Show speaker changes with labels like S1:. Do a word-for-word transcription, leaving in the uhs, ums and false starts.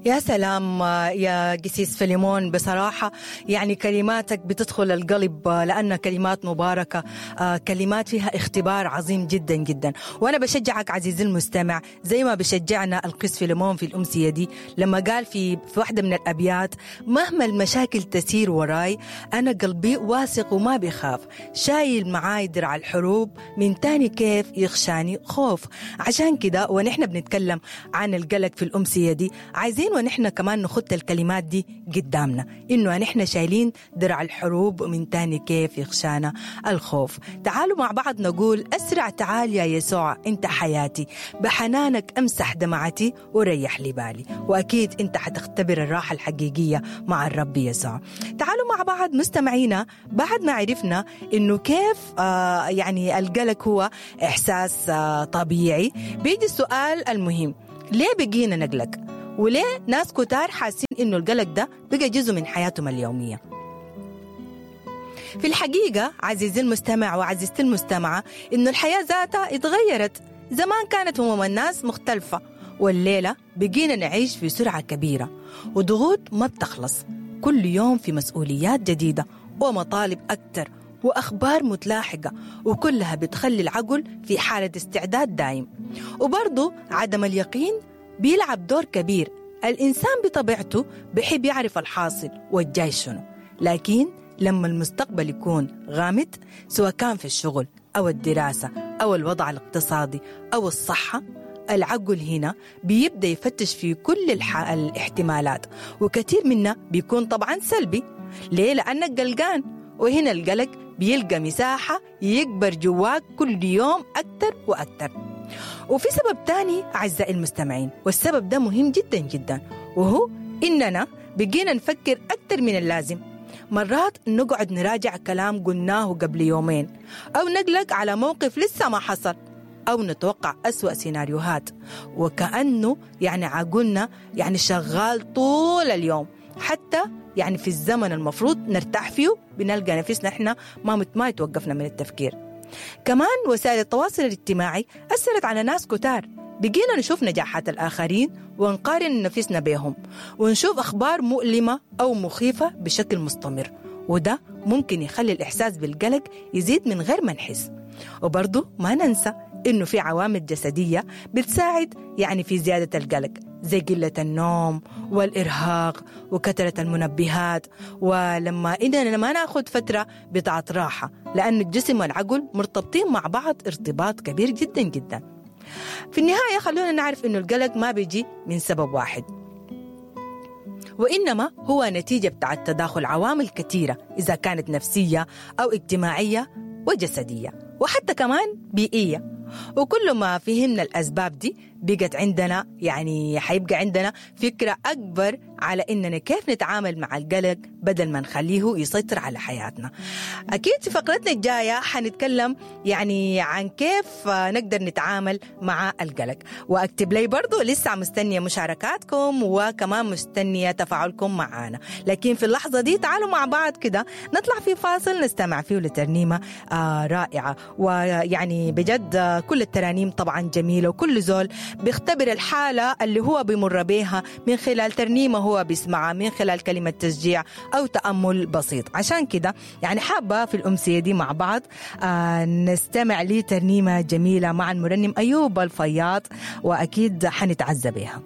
S1: يا سلام يا قسيس فيليمون، بصراحة يعني كلماتك بتدخل القلب لأنها كلمات مباركة، كلمات فيها اختبار عظيم جدا جدا. وأنا بشجعك عزيزي المستمع زي ما بشجعنا القس فيليمون في الأمسية دي لما قال في في واحدة من الأبيات: مهما المشاكل تسير وراي أنا قلبي واثق وما بيخاف، شايل معاي درع الحروب من تاني كيف يخشاني خوف. عشان كده ونحن بنتكلم عن القلق في الأمسية دي عايزين ونحن كمان نخط الكلمات دي قدامنا، إنه نحن شايلين درع الحروب من تاني كيف يخشانا الخوف. تعالوا مع بعض نقول: أسرع تعال يا يسوع أنت حياتي، بحنانك أمسح دمعتي وريح لي بالي. وأكيد أنت حتختبر الراحة الحقيقية مع الرب يسوع. تعالوا مع بعض مستمعينا بعد ما عرفنا إنه كيف آه يعني القلق هو إحساس آه طبيعي، بيجي السؤال المهم: ليه بقينا نقلق؟ وليه ناس كتار حاسين إنه القلق ده بقى جزء من حياتهم اليومية؟ في الحقيقة عزيزي المستمع وعزيزتي المستمعة إنه الحياة ذاتها اتغيرت. زمان كانت هموم الناس مختلفة، والليلة بقينا نعيش في سرعة كبيرة وضغوط ما بتخلص، كل يوم في مسؤوليات جديدة ومطالب أكتر وأخبار متلاحقة، وكلها بتخلي العقل في حالة استعداد دائم. وبرضو عدم اليقين بيلعب دور كبير. الإنسان بطبيعته بحب يعرف الحاصل والجاي شنو، لكن لما المستقبل يكون غامض سواء كان في الشغل أو الدراسة أو الوضع الاقتصادي أو الصحة، العقل هنا بيبدأ يفتش في كل الح... الاحتمالات، وكثير منا بيكون طبعا سلبي. ليه؟ لأنك قلقان، وهنا القلق بيلقى مساحة يكبر جواك كل يوم أكتر وأكتر. وفي سبب تاني أعزائي المستمعين، والسبب ده مهم جدا جدا، وهو إننا بقينا نفكر أكتر من اللازم. مرات نقعد نراجع كلام قلناه قبل يومين، أو نقلق على موقف لسه ما حصل، أو نتوقع أسوأ سيناريوهات، وكأنه يعني عقلنا يعني شغال طول اليوم، حتى يعني في الزمن المفروض نرتاح فيه بنلقى نفسنا إحنا ما ما يتوقفنا من التفكير. كمان وسائل التواصل الاجتماعي أثرت على ناس كتار، بقينا نشوف نجاحات الآخرين ونقارن نفسنا بهم، ونشوف أخبار مؤلمة أو مخيفة بشكل مستمر، وده ممكن يخلي الإحساس بالقلق يزيد من غير ما نحس. وبرضه ما ننسى إنه في عوامل جسدية بتساعد يعني في زيادة القلق، زي قلة النوم والإرهاق وكثرة المنبهات، ولما إننا ما ناخد فترة بتاعت راحة، لأن الجسم والعقل مرتبطين مع بعض ارتباط كبير جدا جدا. في النهاية خلونا نعرف إنه القلق ما بيجي من سبب واحد، وإنما هو نتيجة بتاعت تداخل عوامل كثيرة، إذا كانت نفسية أو اجتماعية وجسدية وحتى كمان بيئية. وكل ما فهمنا الأسباب دي بقت عندنا يعني حيبقى عندنا فكرة أكبر على إننا كيف نتعامل مع القلق بدل ما نخليه يسيطر على حياتنا. أكيد في فقرتنا الجاية حنتكلم يعني عن كيف نقدر نتعامل مع القلق. وأكتب لي برضو لسه مستنية مشاركاتكم وكمان مستنية تفاعلكم معنا، لكن في اللحظة دي تعالوا مع بعض كده نطلع في فاصل نستمع فيه لترنيمة آه رائعة، ويعني بجد كل الترانيم طبعا جميلة، وكل زول بيختبر الحالة اللي هو بيمر بيها من خلال ترنيمة هو بيسمعها، من خلال كلمة تشجيع أو تأمل بسيط. عشان كده يعني حابة في الأمسية دي مع بعض آه نستمع لترنيمة جميلة مع المرنم أيوب الفياض، وأكيد حنتعزى بيها.